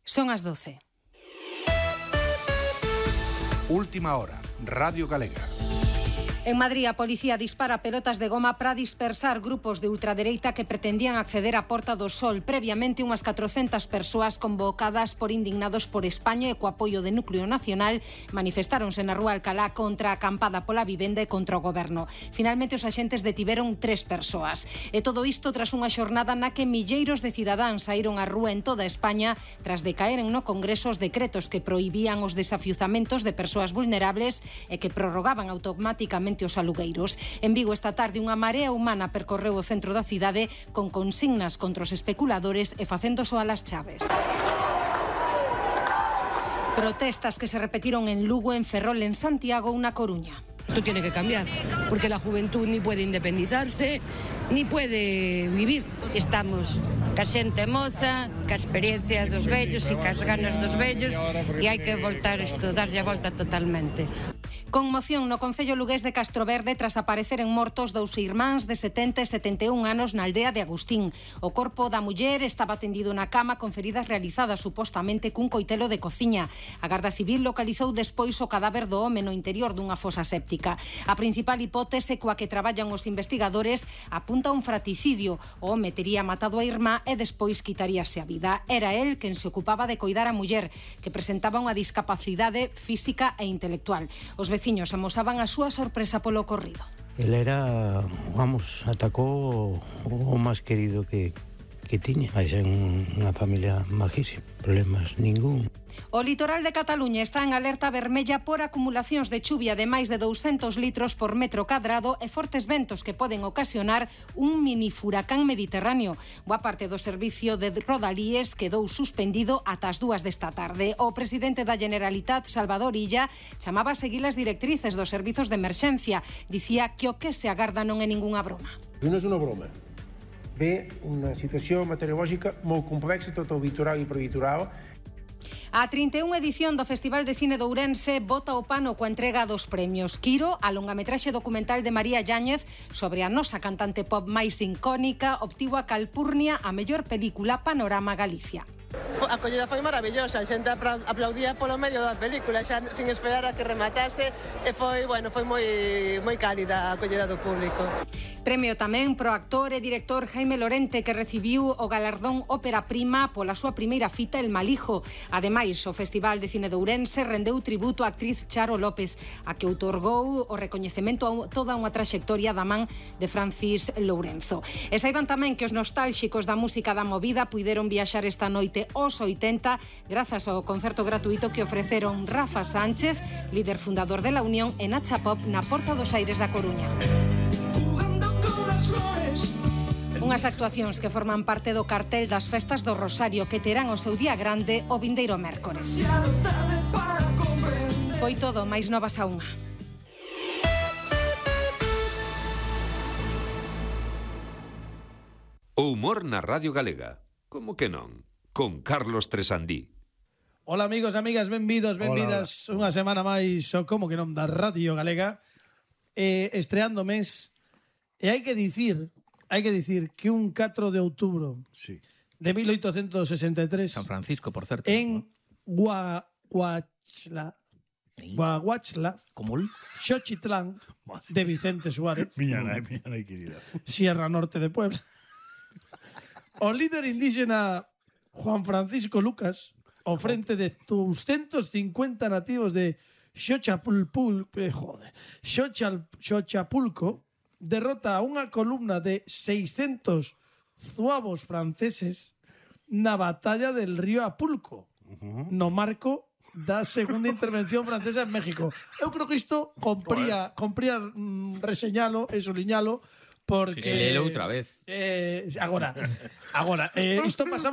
Son as 12. Última hora, Radio Galega. En Madrid, a policía dispara pelotas de goma para dispersar grupos de ultradereita que pretendían acceder á Porta do Sol. Previamente, unhas 400 persoas convocadas por Indignados por España e co apoio de Núcleo Nacional manifestáronse na Rúa Alcalá contra a acampada pola vivenda e contra o goberno. Finalmente, os axentes detiveron 3 persoas. E todo isto tras unha xornada na que milleiros de cidadáns saíron á rúa en toda España tras decaeren no Congreso os decretos que prohibían os desafiuzamentos de persoas vulnerables e que prorrogaban automáticamente os alugueiros. En Vigo esta tarde unha marea humana percorreu o centro da cidade con consignas contra os especuladores e facendo soar as chaves. Protestas que se repetiron en Lugo, en Ferrol, en Santiago ou na Coruña. Esto tiene que cambiar, porque la juventud ni puede independizarse, ni puede vivir. Estamos ca xente moza, ca experiencia dos vellos e cas ganas dos vellos, e hai que voltar isto, darlle a volta totalmente. Conmoción no concello lugués de Castroverde tras apareceren mortos 2 irmáns de 70 e 71 anos na aldea de Agustín. O corpo da muller estaba tendido na cama con feridas realizadas supostamente cun coitelo de cociña. A Garda Civil localizou despois o cadáver do home no interior dunha fosa séptica. A principal hipótese coa que traballan os investigadores apunta a un fratricidio. O home tería matado a irmá e despois quitaríase a vida. Era el quen se ocupaba de coidar a muller, que presentaba unha discapacidade física e intelectual. Os veciños amosaban a súa sorpresa polo ocorrido. El era, atacou o máis querido que tiña. Vais en unha familia majísima, problemas ningún. O litoral de Cataluña está en alerta vermella por acumulacións de chuvia de máis de 200 litros por metro cadrado e fortes ventos que poden ocasionar un mini furacán mediterráneo. Boa parte do servicio de Rodalíes quedou suspendido ata as 2 desta tarde. O presidente da Generalitat, Salvador Illa, chamaba a seguir as directrices dos servizos de emerxencia. Dicía que o que se agarda non é ningunha broma. Non é unha broma. Ve unha situación meteorológica moi complexa, tanto o litoral e prelitoral. A 31 edición do Festival de Cine de Ourense bota o pano coa entrega dos premios. Quiro, a longametraxe documental de María Yáñez sobre a nosa cantante pop máis icónica, obtivo a Calpurnia a mellor película Panorama Galicia. A acollida foi maravillosa, a xente aplaudía polo medio da película, xa sin esperar a que rematase, e foi moi cálida a acollida do público. Premio tamén pro actor e director Jaime Lorente, que recibiu o galardón Ópera Prima pola súa primeira fita El Malijo. Ademais, o Festival de Cine de Ourense rendeu tributo á actriz Charo López, a que outorgou o recoñecemento a toda unha traxectoria da man de Francis Lourenzo. E saiban tamén que os nostálxicos da música da movida puideron viaxar esta noite aos 80 grazas ao concerto gratuito que ofreceron Rafa Sánchez, líder fundador de La Unión, e Nacha Pop na Porta dos Aires da Coruña. Unhas actuacións que forman parte do cartel das Festas do Rosario que terán o seu día grande o vindeiro mércores. Foi todo, máis novas a unha. O humor na Radio Galega. Como que non? Con Carlos Tresandí. Hola amigos e amigas, benvidas unha semana máis o Como que non da Radio Galega, estreando mes. E hai que dicir que un 4 de outubro de 1863 San Francisco, por certo, en Guaguachla, Xochitlán de Vicente Suárez, miña nai querida, Sierra Norte de Puebla, o líder indígena Juan Francisco Lucas, ao frente de 250 nativos de Xochapulco, derrota a unha columna de 600 zuavos franceses na batalla del río Apulco, no marco da segunda intervención francesa en México. Eu creo que isto compría reseñalo e suliñalo, porque... Si se lelo outra vez. Agora, isto pasaba